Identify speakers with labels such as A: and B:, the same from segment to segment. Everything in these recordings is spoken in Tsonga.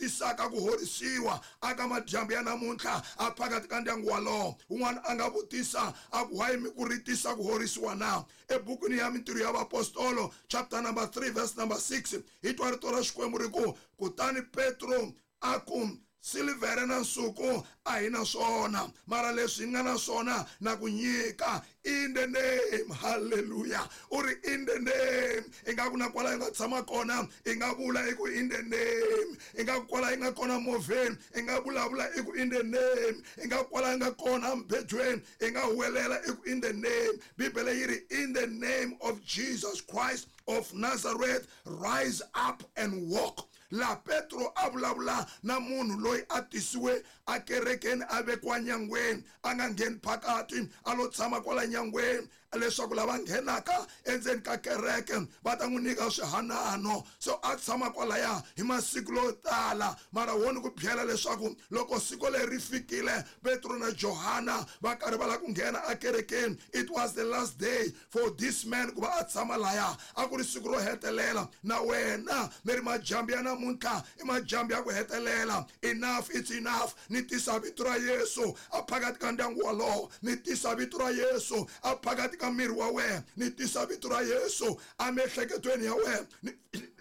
A: tisaka ku horisiwa aka madyambu ya namuntlha a phakathi ka ndyangu walowo. Un'wana a nga vutisa a ku why mi ku ri tisa ku horisiwa na? Ebukwini ya Mintirho ya Vaapostolo chapter number 3 verse number 6 hi twa rito ra Xikwembu ri ku, kutani Petro a ku, silivhere na nsuku a hi na swona, mara leswi hi nga na swona na ku nyika, in the name. Hallelujah. U ri in the name. Ingaku na kwala yi nga tshama kona i nga vula i ku in the name. Ingaku kwala yi nga kona movheni i nga vulavula i ku in the name. Ingaku kwala yi nga kona embedweni i nga huwelela i ku in the name. Bibele yi ri in the name of Jesus Christ of Nazareth, rise up and walk. La Petro a vulavula na munhu loyi a tisiwe a kerekeni a vekiwa nyangweni, a nga ngheni phakati, a lo tshama kwala nyangweni leswaku lava nghenaka endzeni ka kereke va ta n'wi nyika swihanano. So a tshama kwalaya hi masiku yo tala, mara wo ni ku byela leswaku loko siku leri ri fikile Petro na Johana va karhi va lava ku nghena akerekeni, it was the last day for this man ku va a tshama laya. A ku ri siku ro hetelela. Na wena ni ri majambu ya namuntlha i majambu ya ku hetelela. Enough, it's enough. Ni tisa vito ra Yesu a phakathi ka ndyangu walowo, ni tisa vito ra Yesu a phakathi ka miri wa wena, ni tisa vito ra Yesu a miehleketweni ya wena, ni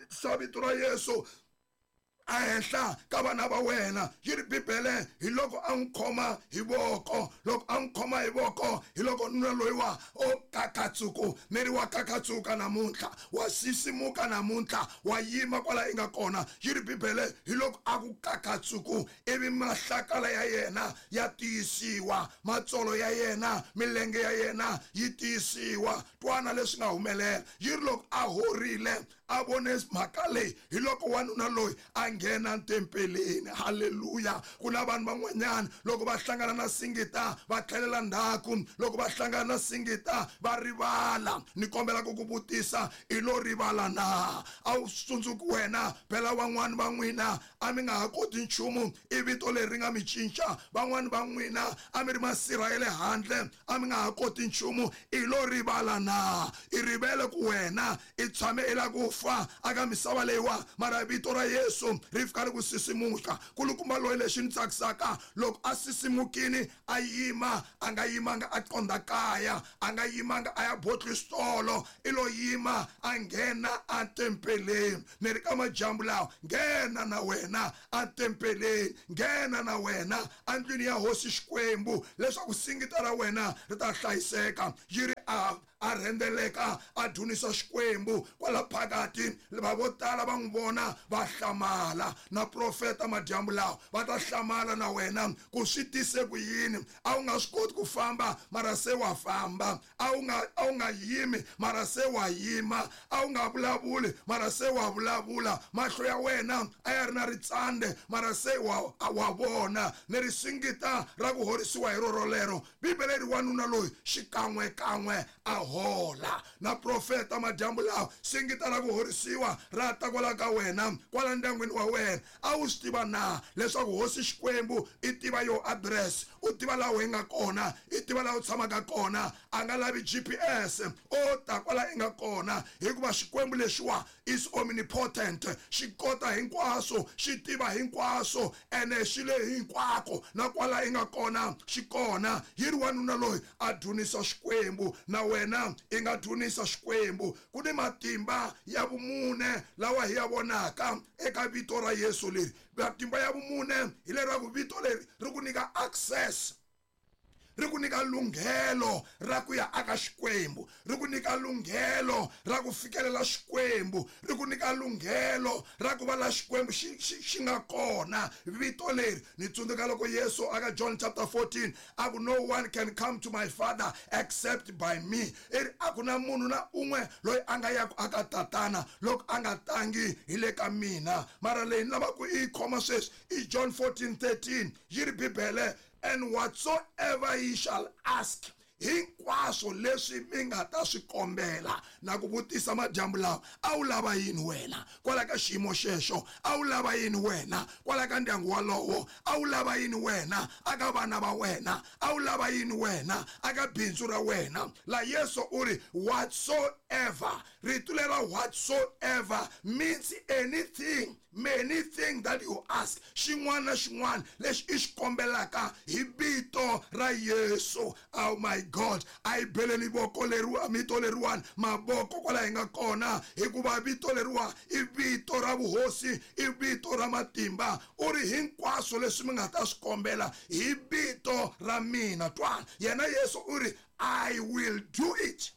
A: tisa vito ra Yesu a henhla ka vana va wena. Yi ri Bibele hi loko a n'wi khoma hi voko, loko a n'wi khoma hi voko hi loko nuna loyiwa o kakatsuku, miri wa kakatsuka namuntlha, wa sisimuka namuntlha, wa yima kwala i nga kona. Yi ri Bibele hi loko a ku kakatsuku, ivi mahlakala ya yena ya tiyisiwa, matsolo ya yena, milenge ya yena yi tiyisiwa. Twana leswi nga humelela. Yi ri loko a horile a vone mhaka leyi, hi loko wanuna loyi a nghena tempeleni. Haleluya. Ku na vanhu van'wanyana loko va hlangana na singita va tlhelela ndzhaku, loko va hlangana na singita va rivala. Ni kombela ku ku vutisa, i lo rivala na? A wu tsundzuki wena? Phela van'wani va n'wina a mi nga ha koti nchumu, i vito leri ri nga mi cinca. Van'wani va n'wina a mi ri masirha ya le handle, a mi nga ha koti nchumu, i lo rivala na? I rivele ku wena i tshame i la ku fa aka misava leyiwa, mara vito ra Yesu ri fika ri ku sisimuka. Kulukumba loyi lexi ni tsakisaka, loko a sisimukini a yima, a nga yimanga a qondha kaya, a nga yimanga a ya botlistolo, i lo yima a nghena a tempeleni. Ni ri ka majambu lawa, nghena na wena a tempeleni, nghena na wena andlwini ya Hosi Xikwembu, leswaku singita ra wena ri ta hlayiseka. Yi ri a rhendeleka a dzunisa Xikwembu kwala phakathi. Va vo tala va n'wi vona va hlamala. Na profeta madyambu lawa va ta hlamala na wena ku swi tise ku yini. A wu nga swi koti ku famba, mara se wa famba. A wu nga yimi, mara se wa yima. A wu nga vulavuli, mara se wa vulavula. Mahlo ya wena a ya ri na ritsande, mara se wa vona. Ni ri singita ra ku horisiwa hi roro lero. Bibele ri wanuna loyi xikan'we kan'we a hola. Na profeta madyambu lawa, singita ra ku horisiwa ra ta kwala ka wena, kwala ndyangwini wa wena. A wu swi tiva na leswaku Hosi Xikwembu i tiva yo address, u tiva laha u nga kona, i tiva laha u tshamaka kona, a nga lavi GPS, o ta kwala i nga kona, hikuva Xikwembu lexiwa is omnipotent, xi kota hinkwaswo, xi tiva hinkwaswo, ene xi le hinkwako, na kwala i nga kona xi kona. Yi ri wanuna loyi a dzunisa Xikwembu, na wena i nga dzunisa Xikwembu. Ku ni matimba ya vumune lawa hi ya vonaka eka vito ra Yesu leri. Matimba ya vumune hi leraku vito leri ri ku nyika access, ri ku nyika lunghelo ra ku ya aka Xikwembu, ri ku nyika lunghelo ra ku fikelela Xikwembu, ri ku nyika lunghelo ra ku va la Xikwembu xi nga kona. Vito leri ni tsundzuka loko Yesu aka John chapter 14 a ku, no one can come to my Father except by me. I ri a ku na munhu na un'we loyi a nga yaku aka Tatana loko a nga tangi hi le ka mina. Mara leyi ni lavaka ku i yi khoma sweswi i John 14:13. Yi ri Bibele, and whatsoever ye shall ask. Hinkwaswo leswi mi nga ta swi kombela. Na ku vutisa madyambu lawa, a wu lava yini wena kwala ka xiyimo xexo? A wu lava yini wena kwala ka ndyangu walowo? A wu lava yini wena aka vana va wena? A wu lava yini wena aka bindzu ra wena? La Yesu u ri whatsoever. Rito lera whatsoever means anything, many thing that you ask. Xin'wana na xin'wana lexi i xi kombelaka hi vito ra Yesu. Oh my God, a hi beleni voko leriwa, vito leriwani mavoko kwala hi nga kona, hikuva vito leriwa i vito ra vuhosi, i vito ra matimba. U ri hinkwaswo leswi mi nga ta swi kombela hi vito ra mina. Twana, yena Yesu u ri I will do it.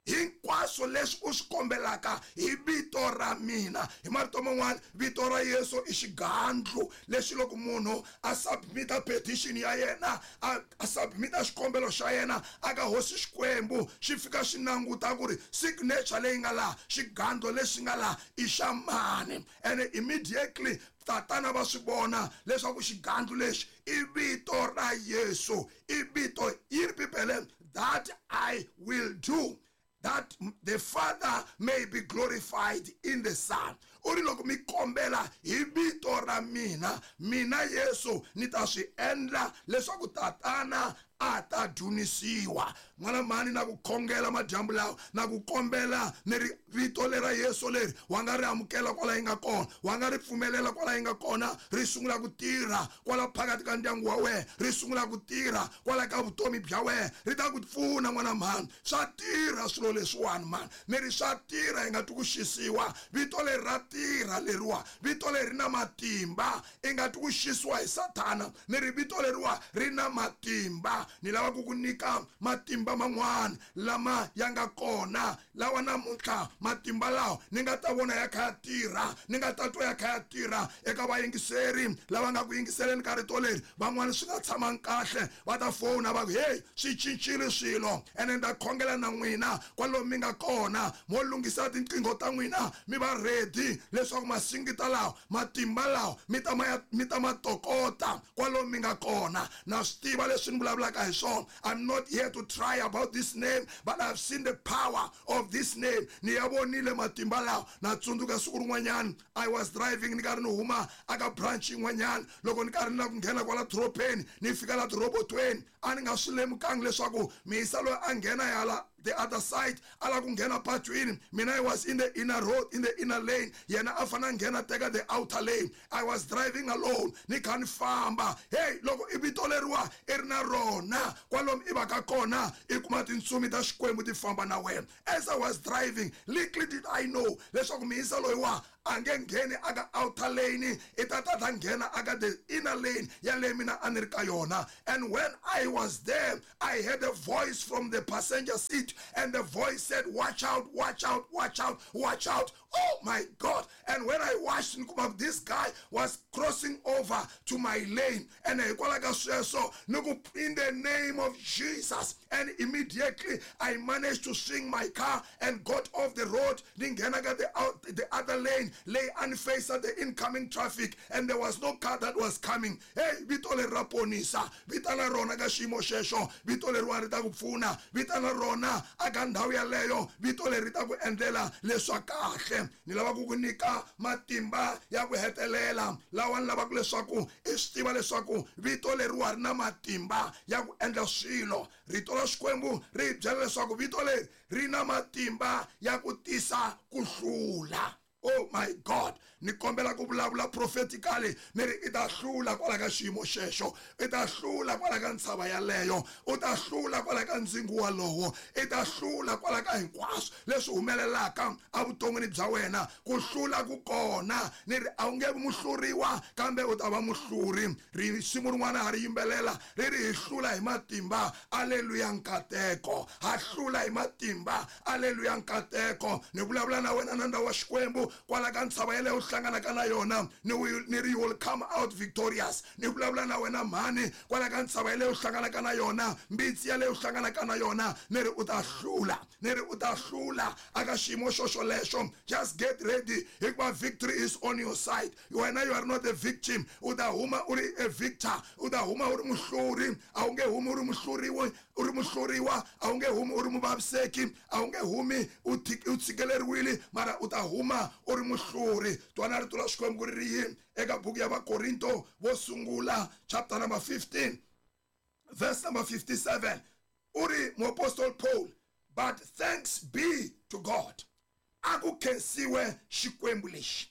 A: Hinkwaswo leswi u swi kombelaka hi vito ra mina. Hi marito man'wana, vito ra Yesu i xigandlu lexi loko munhu a submita petition ya yena, a submita xikombelo xa yena aka hosi Xikwembu, xi fika xi languta ku ri signature leyi nga laha, xigandlo lexi nga laha i xa mani. And immediately tatana va swi vona leswaku xigandlo lexi i vito ra Yesu, i vito yi ri Bibele, that I will do, that the Father may be glorified in the Son. U ri loko mi kombela hi vito ra mina, mina Yesu ni ta swi endla leswaku tatana a ta dzunisiwa. N'wana mhani, na ku khongela madyambu lawa, na ku kombela ni ri vito lera Yesu leri wa nga ri amukela kwala yi nga kona, wa nga ri pfumelela kwala yi nga kona, ri sungula ku tirha kwala phakathi ka ndyangu wa wena, ri sungula ku tirha kwala ka vutomi bya wena, ri ta ku pfuna n'wana mhani. Swa tirha swilo leswiwani mhani, ni ri swa tirha, hi nga twi ku xisiwa. Vito leri ra tirha leriwa, vito leri ri na matimba, i nga twi ku xisiwa hi Sathana. Ni ri vito leriwa ri na matimba. Ni lava ku ku nyika matimba man'wana lama ya nga kona, lawa namuntlha matimba lawa ni nga ta vona ya kha ya tirha, ni nga ta twa ya kha ya tirha eka vayingiseri lava nga ku yingiseleni ka rito leri. Van'wana swi nga tshamangi kahle, va ta fona va ku hey, swi cincile swilo. Ene ni ta khongela na n'wina kwalomu mi nga kona, mo lunghisa tinqingho ta n'wina, mi va ready leswaku masingita lawa, matimba lawa mi ta ma mi ta ma tokota kwalomu mi nga kona. Na swi tiva leswi ni vulavulaka hi swona. I'm not here to try about this name, but I've seen the power of this name. Ni ya vonile matimba lawa. Na tsundzuka siku rin'wanyana I was driving, ni karhi ni huma aka branch yin'wanyana, loko ni karhi ni lava ku nghena kwala dorobeni, ni fika la tirobotweni, a ni nga swi lemukangi leswaku miyisa loyi a nghena yala the other side a lava ku nghena patwini. Mina I was in the inner road, in the inner lane, yena a fanele a nghena teka the outer lane. I was driving alone, ni kha ni famba. Hey, loko i vito leriwa i ri na rona kwalomu i va ka kona, i kuma tintsumi ta Xikwembu ti famba na wena. As I was driving, little did I know leswaku miyisa loyiwa a nge ngheni aka outer lane, i ta ta ta nghena aka the inner lane ya leyi mina a ni ri ka yona. And when I was there, I heard a voice from the passenger seat, and the voice said, watch out, watch out, watch out, watch out. Oh my God. And when I watched, this guy was crossing over to my lane. And hikwalaho ka sweswo, ni ku, in the name of Jesus. And immediately I managed to swing my car and got off the road. Ni nghena ka the other lane, lay and face at the incoming traffic, and there was no car that was coming. Hey, vito leri ra ponisa, vitana rona ka xiyimo xexo, vito leriwa ri ta ku pfuna, vitana rona aka ndhawu yaleyo, vito leri ri ta ku endlela leswa kahle. Ni lava ku ku nyika matimba ya ku hetelela lawa ni lavaka leswaku i swi tiva leswaku vito leriwa ri na matimba ya ku endla swilo. Rito ra Xikwembu ri hi byela leswaku vito leri ri na matimba ya ku tisa ku hlula. Oh my God, ni kombela ku vulavula prophetically, ni ri i ta hlula kwala ka xiyimo xexo, i ta hlula kwala ka ntshava yaleyo, u ta hlula kwala ka ndzingo walowo, i ta hlula kwala ka hinkwaswo leswi humelelaka evuton'wini bya wena. Ku hlula ku kona, ni ri a wu nge vi muhluriwa kambe u ta va muhluri. Risimu rin'wana ha ri yimbelela ri ri hi hlula hi matimba, aleluya nkateko, ha hlula hi matimba, aleluya nkateko. Ni vulavula na wena nandza wa Xikwembu. Kwala ka ntshava yeleyo u hlanganaka na yona, ni ri you will come out victorious. Ni vulavula na wena mhani, kwala ka ntshava yeleyo u hlanganaka na yona, mbitsi yaleyo u hlanganaka na yona, ni ri u ta hlula, ni ri u ta hlula aka xiyimo xoxolexo. Just get ready, hikuva victory is on your side. Wena you are not a victim, u ta huma u ri a victor, u ta huma u ri muhluri. A wu nge humi u ri muhluriwa, u ri muhluriwa, a wu nge humi u ri muvaviseki, a wu nge humi u tshikeleriwile, mara u ta huma u ri muhluri. Twana rito ra Xikwembu ku ri ri yini eka buku ya Vakorinto vo sungula chapter number 15 verse number 57. U ri muapostoli Paul, but thanks be to God, a ku khensiwe Xikwembu lexi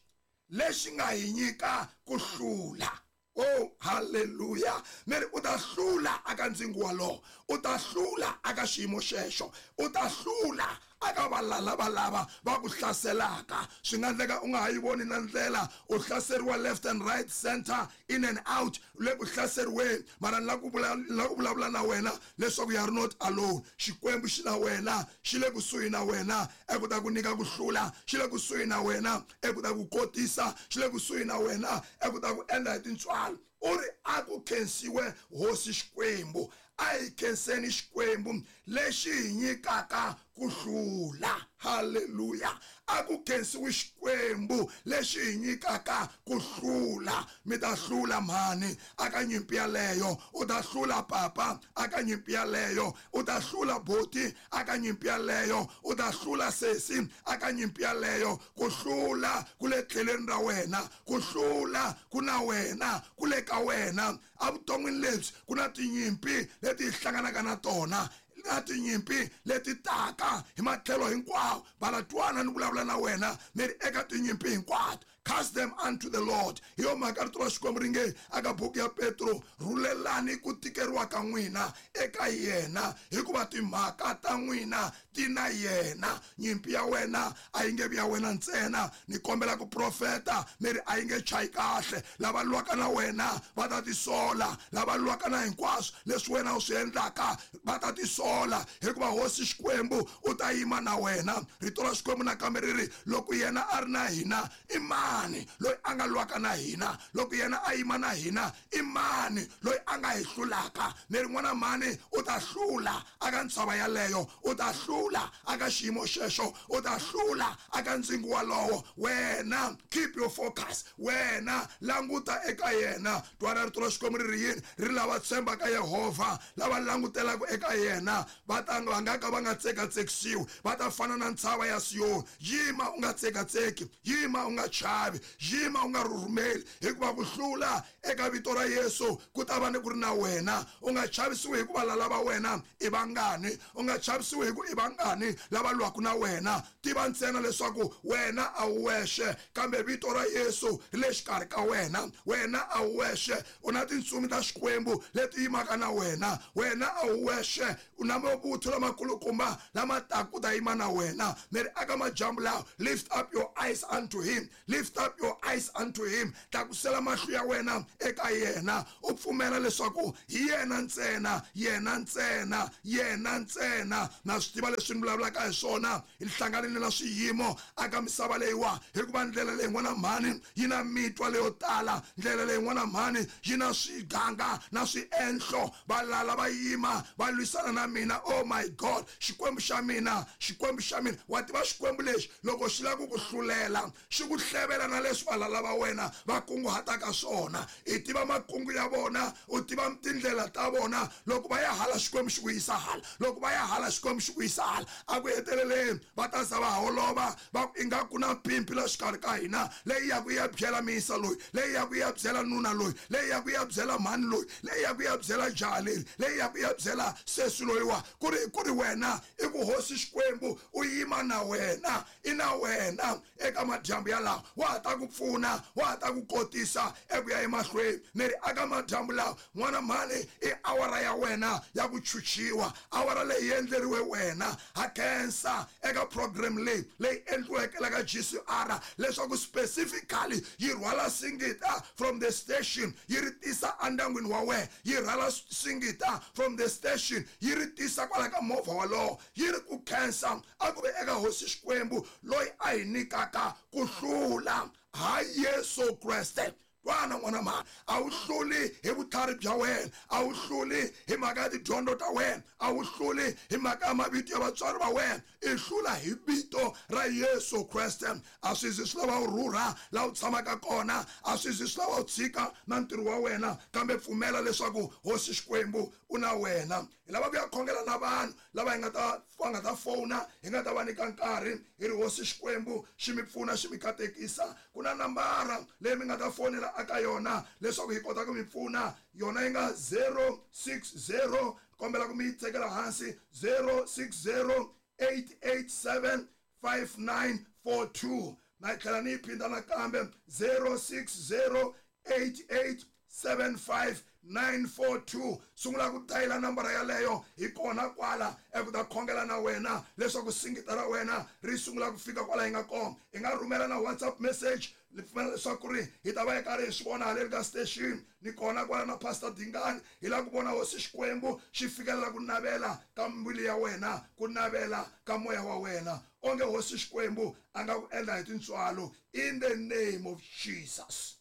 A: lexi nga hi nyika ku hlula. Oh, hallelujah. Meri u ta hlula aka ndzingo walowo, u ta hlula aka xiyimo xexo, u ta hlula aka valala valava va ku hlaselaka. Swi nga endleka u nga ha yi voni na ndlela, u hlaseriwa left and right, center, in and out, u le ku hlaseriweni, mara ni la ku vulavula na wena leswaku you are not alone. Xikwembu xi na wena, xi le kusuhi na wena eku ta ku nyika ku hlula, xi le kusuhi na wena eku ta ku kotisa, xi le kusuhi na wena eku ta ku endla hi tintswalo. U ri a ku khensiwe Hosi Xikwembu, a hi khenseni Xikwembu lexi hi nyikaka ku hlula. Hallelujah. A ku khensiwe Xikwembu lexi hi nyikaka ku hlula. Mi ta hlula mhani aka nyimpi yaleyo, u ta hlula papa aka nyimpi yaleyo, u ta hlula boti aka nyimpi yaleyo, u ta hlula sesi aka nyimpi yaleyo. Ku hlula ku le tlhelweni ra wena, ku hlula ku na wena, ku le ka wena. Evuton'wini lebyi ku na tinyimpi leti hi hlanganaka na tona, na tinyimpi leti taka hi matlhelo hinkwawo. Valatwana ni vulavula na wena ni ri eka tinyimpi hinkwato, cast them unto the Lord. Hi yo mhaka rito ra Xikwembu ri nge aka buku ya Petro, rhulelani ku tikeriwa ka n'wina eka yena, hikuva timhaka ta n'wina ti na yena. Nyimpi ya wena a yi nge vi ya wena ntsena. Ni kombela ku profeta ni ri a yi nge chayi kahle. Lava lwaka na wena va ta tisola, lava lwaka na hinkwaswo leswi wena u swi endlaka va ta tisola, hikuva Hosi Xikwembu u ta yima na wena. Rito ra Xikwembu nakambe ri ri loko yena a ri na hina, i mani loyi a nga lwaka na hina? Loko yena a yima na hina, i mani loyi a nga hi hlulaka? Ni ri n'wana mhani u ta hlula aka ntshava yaleyo, u ta hlula aka xiyimo xexo, u ta hlula aka ndzingo walowo. Wena keep your focus, wena languta eka yena. Twana rito ra Xikwembu ri ri yini? Ri lava tshembaka Yehovha, lava langutelaka eka yena, va ta va nga ka va nga tsekatsekisiwi, va ta fana na ntshava ya Siyoni. Yima u nga tsekatseki, yima u nga chavi, yima u nga rhurhumeli, hikuva ku hlula eka vito ra Yesu ku ta va ni ku ri na wena. U nga chavisiwi hikuva lala va wena i vangani, u nga chavisiwi hi ku i vangani lava lwaka na wena. Tiva ntsena leswaku wena a wu wexe, kambe vito ra Yesu ri le xikarhi ka wena. Wena a wu wexe, u na tintsumi ta Xikwembu leti yimaka na wena. Wena a wu wexe, u na mavuthu lamakulukumba lama taka ku ta yima na wena. Ni ri aka majambu lawa, lift up your eyes unto him, lift up your eyes unto him. Tlakusela mahlo ya wena eka yena, u pfumela leswaku hi yena ntsena, yena ntsena, yena ntsena. Na swi tiva leswi ni vulavulaka hi swona, hi hlanganile na swiyimo aka misava leyiwa, hikuva ndlela leyi n'wana mhani yi na mitwa leyo tala, ndlela leyi n'wana mhani yi na swiganga na swienhlo. Valala va yima va lwisana na mina. Oh my God, Xikwembu xa mina, Xikwembu xa mina. Wa tiva Xikwembu lexi loko xi lava ku ku hlulela, xi ku hlevela na leswi valala va wena va kunguhataka swona. I tiva makungu ya vona, u tiva tindlela ta vona. Loko va ya hala Xikwembu xi ku yisa hala, loko va ya hala Xikwembu xi ku yisa hala. A ku heteleleni va ta za va holova, va ku ingaku na mpimpi la xikarhi ka hina, leyi ya ku ya byela miyisa loyi, leyi ya ku ya byela nuna loyi, leyi ya ku ya byela mhani loyi, leyi ya ku ya byela jaha leri, leyi ya ku ya byela sesi loyiwa. Ku ri wena i ku Hosi Xikwembu u yima na wena, i na wena eka madyambu yalawa. Wa ha ta ku pfuna, wa ha ta ku kotisa eku ya emahlweni. Ni ri aka madyambu lawa, n'wana mhani, i awara ya wena ya ku chuchiwa, awara leyi endleriwe wena. Ha khensa eka program leyi leyi endliweke la ka GCR leswaku specifically yi rhwala singita from the station yi ri tisa endyangwini wa wena, yi rhwala singita from the station yi ri tisa kwala ka movha walowo. Yi ri ku khensa a ku ve eka Hosi Xikwembu loyi a hi nyikaka ku hlula ha Yesu Kreste. Twana n'wana mhani, a wu hluli hi vutlhari bya wena, a wu hluli hi mhaka ya tidyondzo ta wena, a wu hluli hi mhaka ya mavito ya vatswari va wena, i hlula hi vito ra Yesu Kreste. A swi zi swi lava u rhurha laha u tshamaka kona, a swi zi swi lava u tshika na ntirho wa wena, kambe pfumela leswaku Hosi Xikwembu u na wena. Hi lava ku ya khongela na vanhu lava hi nga ta va nga ta fona, hi nga ta va nyika nkarhi, hi ri Hosi Xikwembu xi mi pfuna, xi mi katekisa. Ku na nambara leyi mi nga ta fonela aka yona leswaku hi kota ku mi pfuna, yona yi nga 060, kombela ku mi yi tekela hansi, 060 887 5942. Na yi tlhela ni yi phinda nakambe, 060 88 75942. Sungula ku dayila nambara yaleyo, hi kona kwala eku ta khongela na wena leswaku singita ra wena ri sungula ku fika kwala hi nga kona. Hi nga rhumela na WhatsApp message, ni pfumela leswaku ri hi ta va hi karhi hi swi vona haleni ka station. Ni kona kwala na Pastor Dingani, hi lava ku vona Hosi Xikwembu xi fikelela ku navela ka mbilu ya wena, ku navela ka moya wa wena. Onge Hosi Xikwembu a nga ku endla hi tintswalo, in the name of Jesus.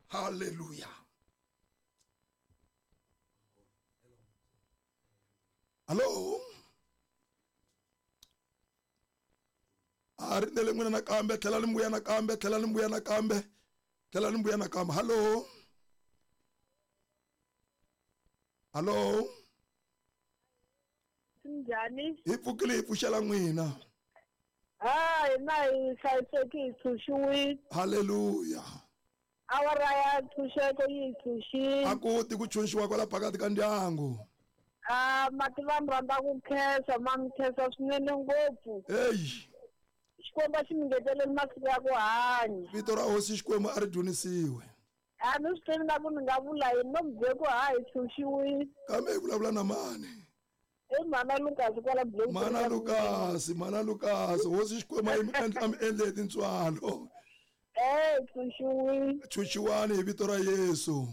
A: Hallelujah. Hello. A rindzele n'wina nakambe, tlhela ni mbuya nakambe, tlhela ni mbuya nakambe, tlhela ni mbuya nakambe. Hello. Hello.
B: Njhani?
A: Hi pfukile, hi pfuxela n'wina.
B: Ah, hina hi hlayiseki, hi tshunxiwile.
A: Hallelujah.
B: Awara ya ntshunxeko yi hi tshunxile.
A: A ku ti ku tshunxiwa kwala phakathi ka ndyangu.
B: Ah, mati va mi rhandza ku khensa, ma mi khensa swinene ngopfu.
A: Eyi.
B: Xikwembu a xi mi ngeteleli masiku ya ku hanya.
A: Vito ra Hosi Xikwembu a ri dzunisiwe.
B: A ni swi tivi na ku ni nga vula yini, no mi byele ku ha hi tshunxiwile.
A: Kambe hi vulavula na mani?
B: I Mhana Lukasi kwala Bloemfontein.
A: Mhana Lukasi, Mhana Lukasi, Hosi Xikwembu a yi mi endla, a mi endle hi tintswalo.
B: Eh, tshunxiwile.
A: Tshunxiwani hi vito ra Yesu.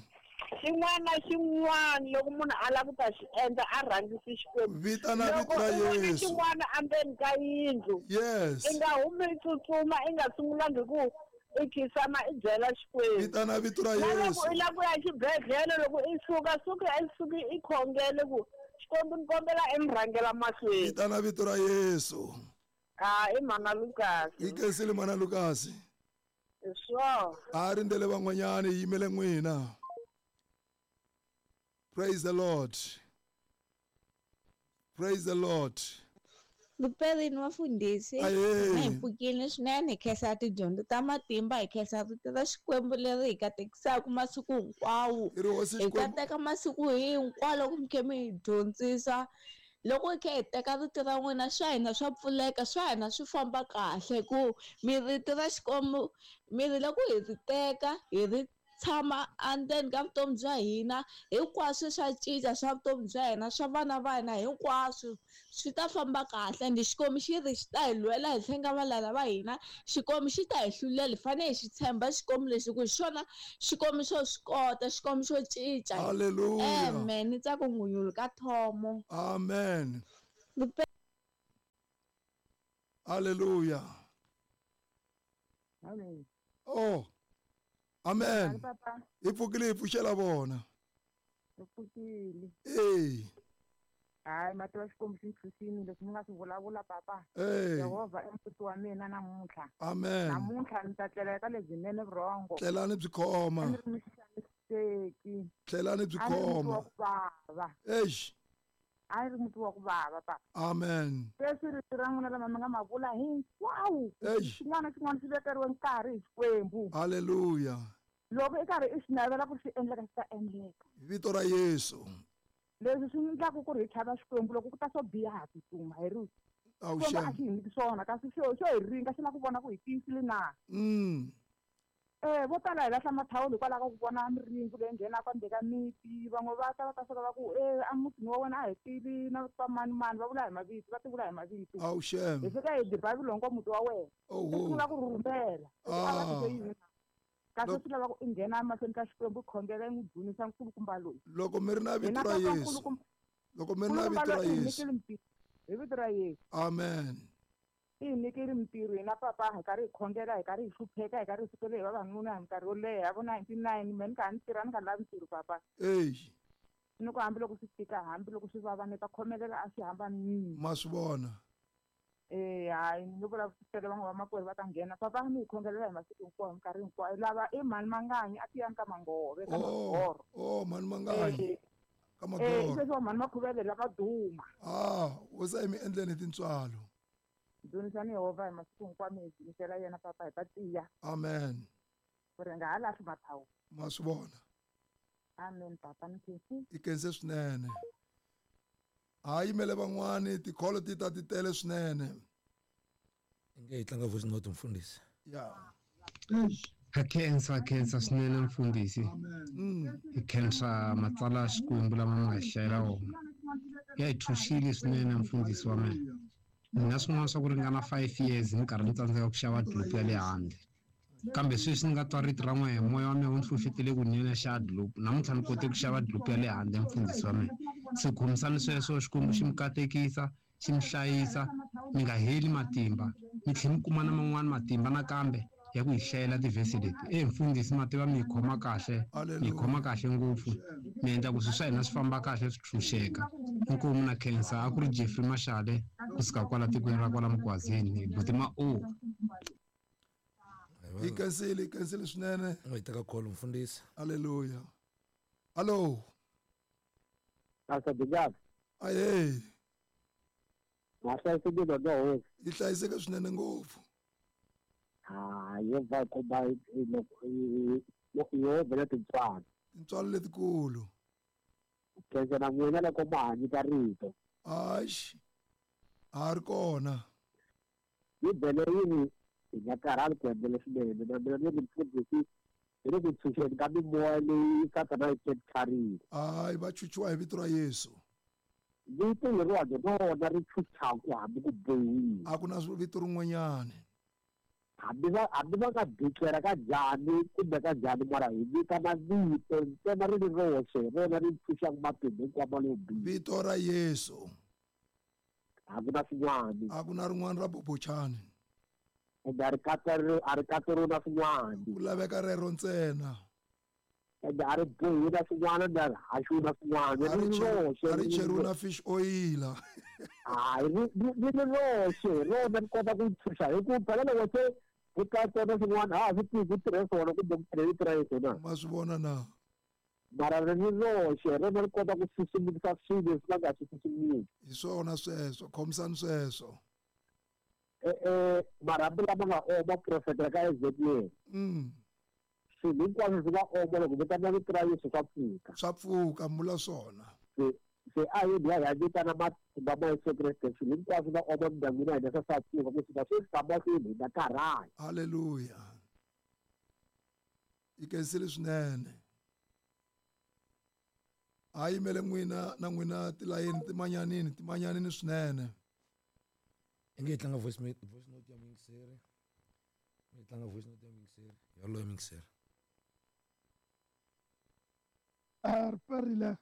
B: Xin'wana na xin'wana loko munhu a lava ku ta xi endla a rhangisi Xikwembu.
A: Vitana vito ra
B: Loko u vona
A: Yesu.
B: xin'wana endzeni ka yindlu,
A: Yes.
B: i nga humi i tsutsuma, i nga sungulangi ku i khisama i byela Xikwembu.
A: Vitana vito ra
B: Na loko
A: Yesu.
B: i lava ku ya xibedhlele, loko i suka, suka i suki i khongele ku Xikwembu ni kombela i mi rhangela mahlweni.
A: Vitana vito ra Yesu.
B: Ah, i Mhana Lukasi.
A: Hi khensile Mhana Lukasi.
B: Hi swona.
A: A rindzele van'wanyana, hi yimele n'wina. Praise the Lord. Praise the Lord.
C: Luperini vafundhisi,
A: Ahee.
C: na hi pfukile swinene, hi khensa tidyondzo ta matimba, hi khensa rito ra Xikwembu leri hi katekisaka masiku hinkwawo.
A: Hi ri Hosi
C: Hi
A: Xikwembu.
C: kateka masiku hinkwawo loko mi kha mi hi dyondzisa. Loko hi kha hi teka rito ra n'wina, swa hina swa pfuleka, swa hina swi famba kahle, ku mi rito ra Xikwembu, mi ri loko hi ri teka, hi ri tshama endzeni ka vutomi bya hina, hinkwaswo swa cinca swa vutomi bya hina, swa vana va hina, hinkwaswo swi ta famba kahle. Ende Xikwembu xi ri xi ta hi lwela hi tlhela valala va hina, Xikwembu xi ta hi hlulela. Hi fanele hi xi tshemba Xikwembu lexi, ku hi xona Xikwembu xo swi kota, Xikwembu xo cinca.
A: Hallelujah.
C: Amen. Ni tsaka ngunyulu ka Thomo.
A: Amen. Hallelujah.
D: Amen.
A: Oh. Amen.
D: Papa.
A: Hi pfukile hi pfuxela vona.
D: Hi pfukile.
A: Eh.
D: Hayi, mati wa Xikwembu xi ntshunxile leswi mi nga swi vulavula papa.
A: Eh.
D: Yehovha i mupfuti wa mina namuntlha.
A: Amen.
D: Namuntlha ni ta tlela eka lebyinene vurhongo.
A: Tlelani byi khoma.
D: A ni ri muxaniseki.
A: Tlelani byi
D: A ni ri muti wa
A: khoma.
D: ku vava.
A: Eish.
D: A ni ri muti wa ku vava papa.
A: Amen.
D: Sweswi rito ra n'wina lama mi nga ma vula hinkwawo.
A: Eish.
D: Xin'wana na xin'wana xi vekeriwe nkarhi hi Xikwembu.
A: Hallelujah.
D: Loko i karhi i swi navela ku swi endleka, swi ta endleka.
A: Hi vito ra Yesu.
D: Leswi swi endlaka ku ri hi chava Xikwembu, loko ku ta swo biha ha tsutsuma hi ri
A: Awu
D: Xikwembu a
A: xem.
D: xi hi nyiki swona, kasi xo hi ringa, xi lava ku vona ku hi tiyisile na. Vo tala hi lahla mathawulo hikwalaho ka ku vona miringu leyi nghenaka endzeni ka miti. Van'we va ta va ta fika va ku emutini wa wena a hi tivi na va mani mani, va vula hi mavito, va ti vula hi mavito.
A: Awu shem.
D: Hi fika hi diba vulongo muti wa wena.
A: Oho.
D: U sungula ku rhurhumela. A va tise yini na? Kasi swi lava ku i nghena emahlweni ka Xikwembu, i khongela, i n'wi dzunisa nkulukumba loyi.
A: Loko mi ri na vito
D: Hina
A: ra
D: papa
A: Yesu.
D: nkulukumba.
A: Loko mi ri na
D: Nkulukumba
A: vito ra
D: loyi i hi
A: Yesu.
D: nyikile mpimo. Hi vito ra Yesu.
A: Amen.
D: I hi nyikile mintirho hina papa, hi karhi hi khongela, hi karhi hi hlupheka, hi karhi hi sukele hi vavanuna hi minkarhi yo leha vo 99, me ni kha ni tirha ni nga lavi ntirho papa.
A: Eyi.
D: Ni ku hambiloko swi tika, hambiloko swi vava, ni ta khomelela a swi hambanile.
A: Ma swi vona.
D: Hayi, ni nge vulavurisele van'we vamakwerhu va ta nghena. Papa mi hi khongelela hi masiku hinkwawo, hi minkarhi hinkwayo. Lava i mhani Manganyi a tiyani ka Mangove, ka
A: Oh,
D: Magoro.
A: oh, mhani Manganyi. Ka
D: I
A: Magoro.
D: sweswi wa mhani Makhuvele lava duma.
A: Ah, wo se mi endleni hi tintswalo.
D: Dzunisani Yehovha hi masiku hinkwawo, mi hi dzunisela yena papa, hi ta tiya.
A: Amen.
D: Ku ri nga ha lahli mathawulo.
A: Ma swi vona.
D: Amen papa, ni khensi.
A: I khense swinene. Ha yimele van'wani, tikholo ti ta ti tele swinene.
E: Inge hi tlanga voice note mfundhisi.
A: Ya.
F: Ha khensa, khensa swinene mfundhisi. Hi khensa matsalwa ya Xikwembu lama mi nga hi hlayela wona. Ya hi thuxile swinene mfundhisi wa mina. Ni na swin'wana swa ku ringana 5 years ni karhi ni tsandzeka ku xava dlopu ya le handle. Kambe sweswi ni nga twa rito ra n'wehe, moya wa mina wu ni hlohletele ku ni ya xava dlopu. Namuntlha ni kote ku xava dlopu ya le handle mfundhisi wa mina. Se khomisani sweswo, Xikwembu xi mi katekisa, xi mi hlayisa, mi nga heli matimba. Mi tlhela mi kuma na man'wani matimba nakambe ya ku hi hlayela tivhesi leti. Mfundhisi ma tiva mi hi khoma kahle, mi hi khoma kahle ngopfu. Mi endla ku swilo swa hina swi famba kahle, swi tshunxeka. Inkomu na khensa, a ku ri Jeffrey Mashale kusuka kwala tikweni ra kwala Mugwazini, buti ma O.
A: Hi khensile, hi khensile swinene.
E: Hi teka call mfundhisi.
A: Hallelujah. Hello.
G: Pastor Dingazi.
A: Aye.
G: Ma hlayisekile no hosi.
A: Yi hlayiseke swinene ngopfu.
G: Ah, Yehovha yi komba Yehovha na tintswalo.
A: Tintswalo letikulu.
G: Khensa na n'wina loko ma ha nyika rito.
A: Axi. A ri kona.
G: Bibele yi ri hi nga karhali ku endla leswinene, na mina ni ri mfundhisi hi le ku tshunxeni ka mimoya leyi Sathana yi capturile.
A: Hayi, va chuchiwa hi vito ra Yesu.
G: Vito leriwani rona ri chuchaku hambi ku bohiwile.
A: A ku na vito rin'wanyani.
G: Hambi va nga declare ka njhani kumbe ka njhani, mara hi vitana vito ntsena ri ri roxe, rona ri tshunxaka matimba hinkwawo leyo biha.
A: Vito ra Yesu.
G: A ku na swin'wana.
A: A ku na rin'wana ra bobochani.
G: Ende a ri katseriwi na swin'wana.
A: Ku laveka rero ntsena.
G: Ende a ri bohiwi na swin'wana, ende a ri haxiwi na swin'wana.
A: A
G: Ri ri roxe,
A: ri
G: ri
A: cheriwi
G: ri
A: na fish oil.
G: Hayi, ri ri roxe, rona ri kota ku tshunxa. Hi ku phela loko se ku katsa na swin'wana, a ha swi tivi ku tirhe swona kumbe ku tirhe vito ra Yesu na.
A: Ma swi vona na?
G: Mara ri ri roxe, rona ri kota ku susumisa swilo leswi va nga swi susumisi.
A: Hi swona sweswo, khomisani sweswo.
G: Marhambu lama nga oma profeta ka Ezekiel. Swilo hinkwaswo swi nga oma loko vitana vito ra Yesu swa pfuka.
A: Swa pfuka, mula swona.
G: Se a hi dya hi vitana matimba ma Yesu Kreste, swilo hinkwaswo nga oma mindyangwini ya hina swa pfuka, ku suka sweswi ka mahlweni hi nga karhali.
A: Hallelujah. Yi khensile swinene. A yimele n'wina na n'wina tilayeni timanyanini, timanyanini swinene.
E: Inge hi tlanga voice voice note ya muyingiseri. Hi tlanga voice note ya muyingiseri. Yoloye muyingiseri.
H: A ri perile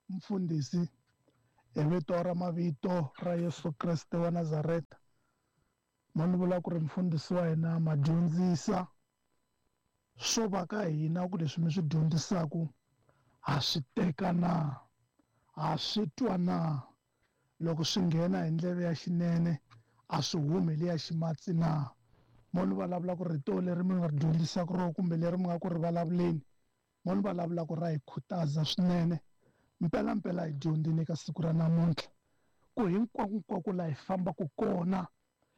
H: mfundhisi hi vito ra mavito ra Yesu Kreste wa Nazareta. Ma ni vula ku ri mfundhisi wa hina ma dyondzisa swo va ka hina ku leswi mi swi dyondzisaku ha swi teka na, ha swi twa na, loko swi nghena hi ndleve ya xinene a swi humi le ya ximatsi na. Mo ni vulavula ku rito leri mi nga ri dyondzisaka rona kumbe leri mi nga ku ri vulavuleni, mo ni vulavula ku ra hi khutaza swinene. Mpela mpela hi dyondzile eka siku ra namuntlha ku hinkwako hinkwako laha hi fambaka kona,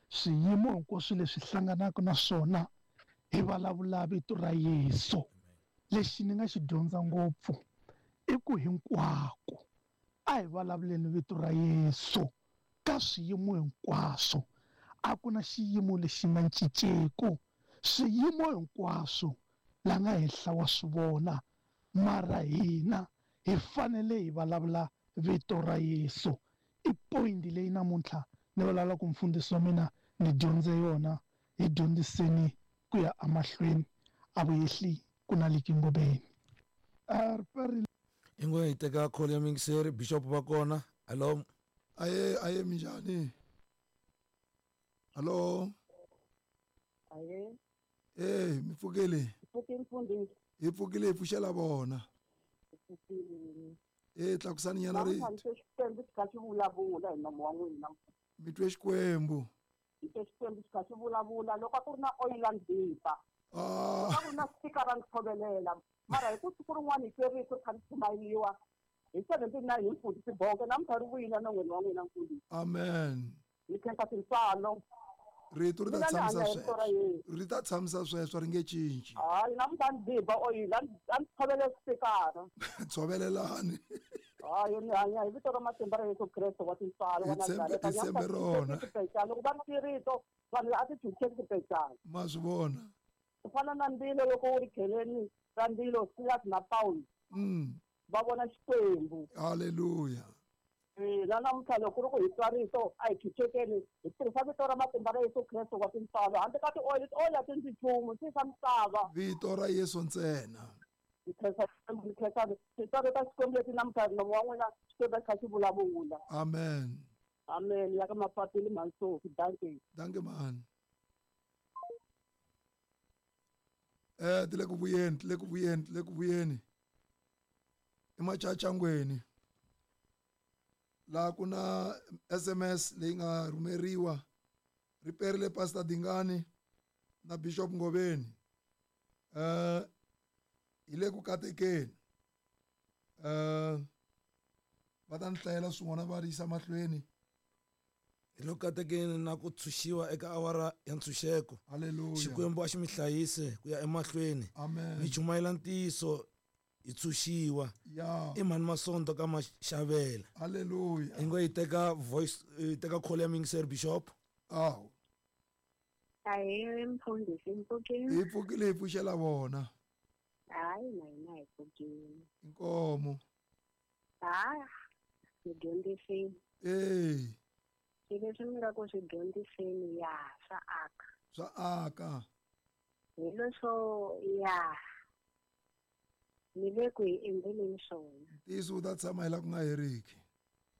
H: swiyimo hinkwaswo leswi hlanganaka na swona hi vulavula vito ra Yesu. Lexi ni nga xi dyondza ngopfu i ku hinkwako a hi vulavuleni vito ra Yesu ka swiyimo hinkwaswo. A ku na xiyimo lexi nga cinceku, swiyimo hinkwaswo La nga henhla wa swi vona, mara hina hi fanele hi vulavula vito ra Yesu. I point leyi namuntlha ni vulavula ku mfundhisi wa mina ni dyondze yona, hi dyondziseni ku ya emahlweni, a vuyehli ku na liki ngobeni.
E: Ingo hi teka call ya muyingiseri, bishop va kona. Hello.
A: Aye, aye, minjhani? Hello.
B: Aye.
A: Eh, mi pfukile?
B: Pfukile mfundhisi.
A: Hi pfukile, hi pfuxela vona.
B: Pfukile.
A: Eh, tlakusani nyana rito.
B: Namuntlha Xikwembu xi kha xi vulavula hi nomo wa n'wina.
A: Mi twe Xikwembu.
B: Mi twe Xikwembu xi kha xi vulavula loko a ku ri na oil and bipa.
A: Ah.
B: Loko a ku ri na speaker ndzi tshovelela. Mara hi ku siku rin'wana hi twe rito ri kha ri chumayeriwa hi 79 hi mfundhisi Bonke, namuntlha ri vuyile non'weni wa n'wina mfundhisi.
A: Amen.
B: Hi khensa tintswalo.
A: Rito ri ta
B: Mina ni
A: tshamisa
B: hanya hi rito ra
A: sweswo.
B: Yesu.
A: Ri ta tshamisa sweswo, ri nge cinci.
B: Hayi, namuntlha ni biba oyili, a ndzi tshovele swipikara.
A: Tshovelelani.
B: Hayi, ni hanya hi vito ra matimba ra Yesu Kreste wa tintswalo wa
A: Hi tshembe-
B: Nazareta.
A: hi tshembe rona.
B: Xipecana. Loko va ri rito, vanhu a ti chucheki xipecana.
A: Ma swi vona.
B: Ku fana na ndzilo loko wu ri kheleni ra ndzilo, Silas na Paul. Va vona Xikwembu.
A: Hallelujah.
B: Na namuntlha loko ku ri ku hi twa rito, a hi chuchekeni, hi tirhisa vito ra matimba ra Yesu Kreste wa tintswalo. Handle ka ti-oil, ti-oil a ti ndzi nchumu, ti swa misava.
A: Vito ra Yesu ntsena.
B: Hi khensa Xikwembu, hi khensa tintswalo ta Xikwembu leti namuntlha nomo wa n'wina Xikwembu xi kha xi vulavula.
A: Amen.
B: Amen. Ya ka Mapapili Mhansofi, dankie.
A: Dankie man. Ti le ku vuyeni, ti le ku vuyeni, ti le ku vuyeni. I machachangweni. Laha ku na SMS leyi nga rhumeriwa. Ri perile Pastor Dingani na Bishop Ngoveni. Hi le ku katekeni. Va ta ni hlayela swin'wana va ri yisa mahlweni.
E: Hi le ku katekeni na ku tshunxiwa eka awara ya ntshunxeko.
A: Hallelujah.
E: Xikwembu a xi mi hlayise ku ya emahlweni.
A: Amen.
E: Mi chumayela ntiyiso hi tshunxiwa.
A: Ya.
E: I mhani Masonto ka Maxavela.
A: Hallelujah.
E: Hi ngo hi teka voice, hi teka call ya muyingiseri Bishop.
A: Awu.
I: Ahee, mfundhisi, hi pfukile.
A: Hi pfukile, hi pfuxela vona.
I: Hayi, na hina hi pfukile.
A: Inkomo.
I: Ha, mi dyondzisini.
A: Eh.
I: Swilo leswi mi nga ku swi dyondziseni, ya, swa aka.
A: Swa aka.
I: Hi leswo, ya, ni le ku hi endleleni swona.
A: Ntiyiso wu ta tshama hi laha ku nga heriki.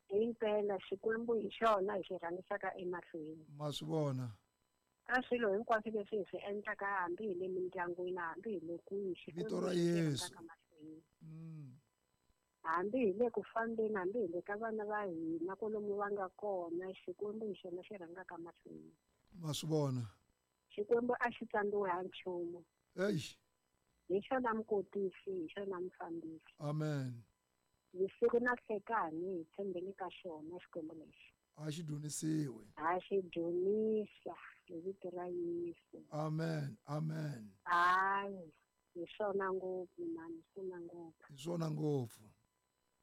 I: Himpela Xikwembu hi xona hi xi rhangisaka emahlweni.
A: Ma swi vona.
I: Ka swilo hinkwaswo leswi hi swi endlaka, hambi hi le mindyangwini, hambi hi le kwihi, Xikwembu
A: Vito ra
I: hi xi
A: Yesu.
I: rhangisaka mahlweni. Hambi hi le ku fambeni, hambi hi le ka vana va hina kwalomu va nga kona, Xikwembu hi xona xi rhangaka mahlweni.
A: Ma swi vona.
I: Xikwembu a xi tsandziwi ha nchumu.
A: Eish.
I: Hi xona mukotisi, hi xona mufambisi.
A: Amen.
I: Vusiku na nhlekani hi tshembele ka xona Xikwembu lexi.
A: A xi dzunisiwe.
I: A xi dzunisa hi vito ra Yesu.
A: Amen. Amen.
I: Hayi, hi swona ngopfu mani, hi swona ngopfu.
A: Hi swona ngopfu.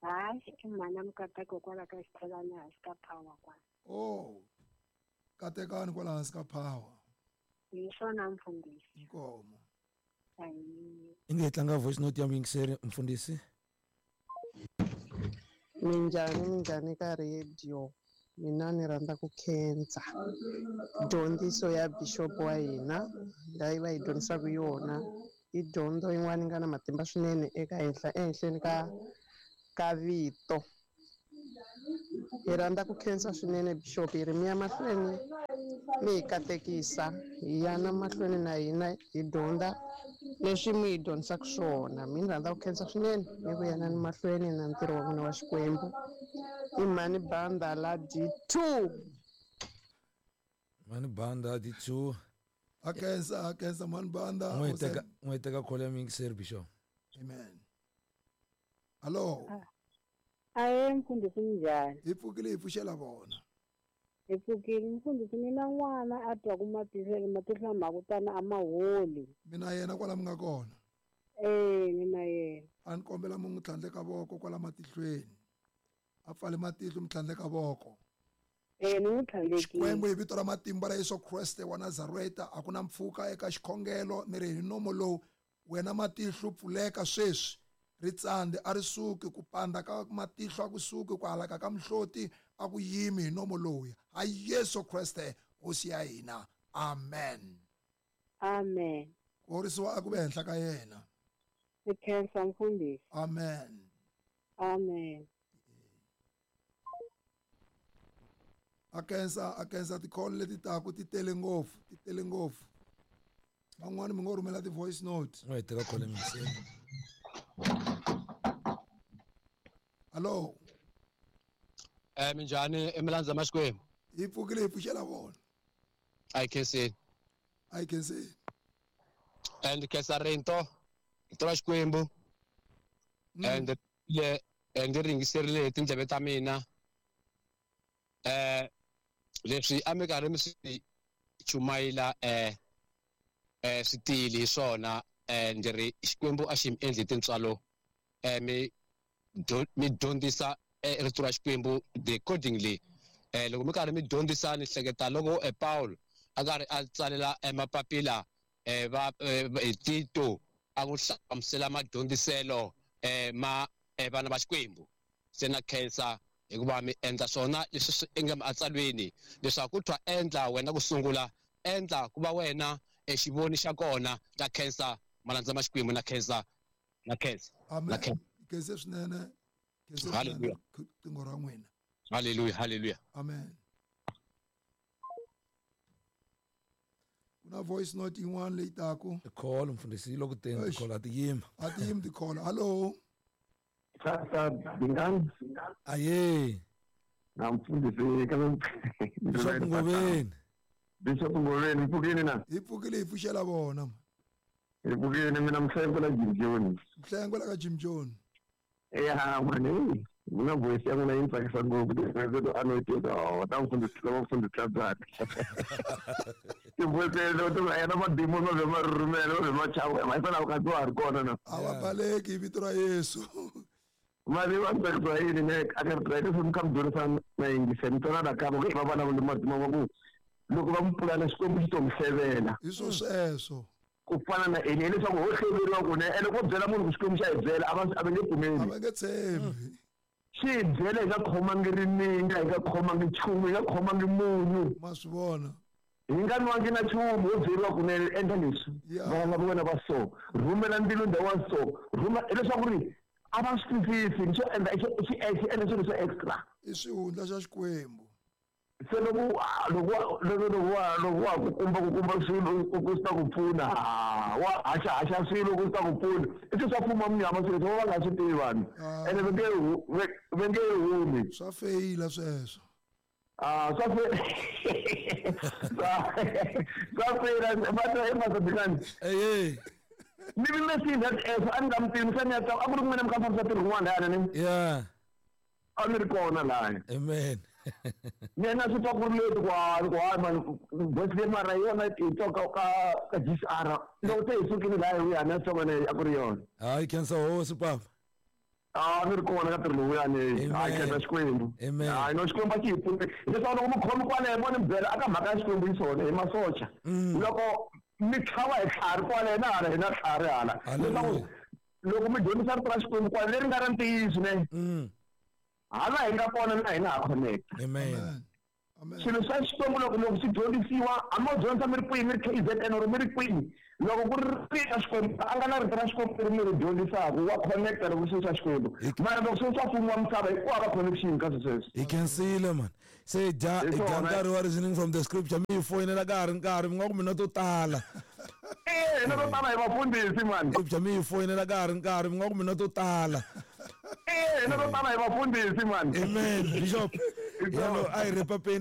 I: Hayi, i mhana Mukateko kwala ka xithelani hansi ka power kwala.
A: Oh. Katekani kwala hansi ka power.
I: Hi swona mfundhisi.
A: Inkomo.
I: Ayi.
E: Inge hi tlanga voice note ya muyingiseri mfundhisi.
J: Minjhani, minjhani ka radio. Mina ni rhandza ku khensa dyondziso ya bishop wa hina leyi va hi dyondzisaka yona. I dyondzo yin'wana yi nga na matimba swinene eka henhla ehenhleni ka vito. Hi rhandza ku khensa swinene bishop, hi ri mi ya mahlweni mi hi katekisa, hi ya na mahlweni na hina hi dyondza leswi mi hi dyondzisaka swona. Mi ni rhandza ku khensa swinene mi ku yanani mahlweni na ntirho wa n'wina wa Xikwembu. I mhani Banda la D2.
E: Mhani Banda D2.
A: A khensa, a khensa mhani Banda.
E: N'wi teka, n'wi teka call ya muyingiseri Bishop.
A: Amen. Hello.
K: Aye, mfundhisi minjhani?
A: Hi pfukile, hi pfuxela vona.
K: Hi pfukile mfundhisi, mina n'wana a twa ku matihlo matihlo ma ku tana a ma holi.
A: Mina yena kwala mi nga kona.
K: Eh, mina yena.
A: A ni kombela mi n'wi tlhandleka voko kwala matihlweni. A pfale matihlo mi tlhandleka voko.
K: Eh, ni n'wi tlhandlekile.
A: Xikwembu hi vito ra matimba ra Yesu Kreste wa Nazareta, a ku na mpfhuka eka xikhongelo, ni ri hi nomo lowu Wena matihlo pfuleka sweswi. Ri tsandze a ri suki, ku pandza ka matihlo a ku suki, ku halaka ka mihloti a ku yimi hi nomo lowuya. Ha Yesu Kreste Hosi ya hina. Amen.
K: Amen.
A: Ku horisiwa a ku ve henhla ka yena.
K: Hi khensa mfundhisi.
A: Amen.
K: Amen.
A: A khensa ti-call leti taku ti tele ngopfu, ti tele ngopfu. Van'wani mi ngo rhumela ti-voice note.
E: N'we hi teka call emiseni.
A: Hallo.
L: Minjhani emilandza ma Xikwembu?
A: Hi pfukile hi pfuxela vona.
L: A hi khenseni.
A: A hi khenseni.
L: And khensa rito, rito ra Xikwembu. And le ndzi ringiserile hi tindleve ta mina. Leswi a mi karhi mi swi chumayela swi tiyile hi swona. Ndzi ri Xikwembu a xi mi endli tintswalo, mi dyondzisa rito ra Xikwembu accordingly. Loko mi karhi mi dyondzisa ni hleketa loko Paul a karhi a tsalela mapapila va Tito a n'wi hlamusela madyondziselo ma vana va Xikwembu. Se na khensa hikuva mi endla swona leswi swi nga matsalweni leswaku ku twa endla wena ku sungula, endla ku va wena exivoni xa kona. Na khensa malandza ma Xikwembu, na khensa, na khensa.
A: Amen. Khensa swinene. Khensa
L: Hallelujah.
A: Tingo ra n'wina.
L: Hallelujah, hallelujah.
A: Amen. Kuna voice note yin'wana leyi taku.
E: Call mfundhisi loko teni call a ti yima.
A: A ti yimi ti-call. Hallo.
M: Sasa Dingani.
E: Aye.
M: Na mfundhisi ka
E: Bishop Ngoveni.
M: Bishop Ngoveni, mpfukini na?
A: Hi pfukile hi pfuxela vona.
M: Hi pfukile mina mhlengo la Jim Jones.
A: Mhlengo la ka Jim Jones.
M: Ya mani, mina voice ya mina yi tsakisa ngopfu ti to anointed ta mfundhisi la mfundhisi Tlatsana. Ti-voice leto to yena madimoni ma ve ma rhurhumela ma ve ma chava ma hikwalaho ka wa ha ri kona na.
A: A va baleki hi vito ra Yesu.
M: Mali va tsakisa yini ne a ka ri leswi mi kha mi dyondzisa na yingisa mi twana nakambe ku va vulavula matima va ku loko va mi pulana Xikwembu xi to mi hlevela.
A: Hi swo sweswo.
M: Ku fana na Eli hileswaku ho hleveriwa ku ne ene ko byela munhu ku Xikwembu xa hi byela a va nge pfumeli.
A: A va nge tshembi.
M: Xi hi byela hi nga khomangi rininga, hi nga khomangi nchumu, hi nga khomangi munyu.
A: Ma swi vona.
M: Hi nga nwangi na nchumu, ho byeriwa ku ne endla leswi. Vana va wena va so, rhumela ndzilo ndhawu wa so, rhuma hileswaku ri a va swi twisisi, xo endla xi endla swilo swa extra.
A: I swihundla xa Xikwembu.
M: Se loko wa ku kumba swilo ku swi ta ku pfuna, wa haxa swilo ku swi ta ku pfuna, i swilo swa fuma munyama swilo leswi va nga swi tivi vanhu. Ene va nge humi.
A: Swa feyila sweswo.
M: Swa feyila va ta emasadikani. Ni vi mesini that a ni nga mi tivi se ni ya a ku ri n'wina mi kha mi fambisa ntirho wun'wana lahaya ni.
E: Yeah.
M: A ni ri kona lahaya.
E: Amen.
M: Mina swi twa ku ri leti ku hayi mani voice leyi mara yona hi twa ka GCR loko se hi sukile lahaya hi ya na twa a ku ri yona.
E: Hayi khensa hosi papa.
M: A ni ri kona ka ntirho lowuyani. Hayi khensa Xikwembu.
E: Amen.
M: Hayi no Xikwembu a xi hi pfune. Leswaku loko mi khomi kwale mo ni byela aka mhaka ya Xikwembu yi swona hi masocha. Loko mi tlhava hi tlhari kwale na hala hi na tlhari hala. Leswaku loko mi dyondzisa rito ra Xikwembu kwale leri nga ra ntiyiso ne. Hala hi nga kona na hina ha connect.
E: Amen.
M: Swilo swa Xikwembu loko swi dyondzisiwa, a mo dyondza mi ri kwihi, mi ri KZN or mi ri kwihi, loko ku ri rito ra Xikwembu, a nga na rito ra Xikwembu leri mi ri dyondzisaka, wa connecta loko swilo swa Xikwembu. Mara loko swilo swa mfumo wa misava, hi ku hava connection ka swilo sweswo.
E: Hi khensile man. Se dya nkarhi wa reasoning from the scripture, mi hi foyinela ka ha ri nkarhi, mi nga ku mina to tala.
M: Hina to tala hi vafundhisi man.
E: Scripture mi hi foyinela ka ha ri nkarhi, mi nga ku mina to tala.
M: Hina to tala hi vafundhisi man.
E: Amen. Bishop. Yalo a hi repapeni.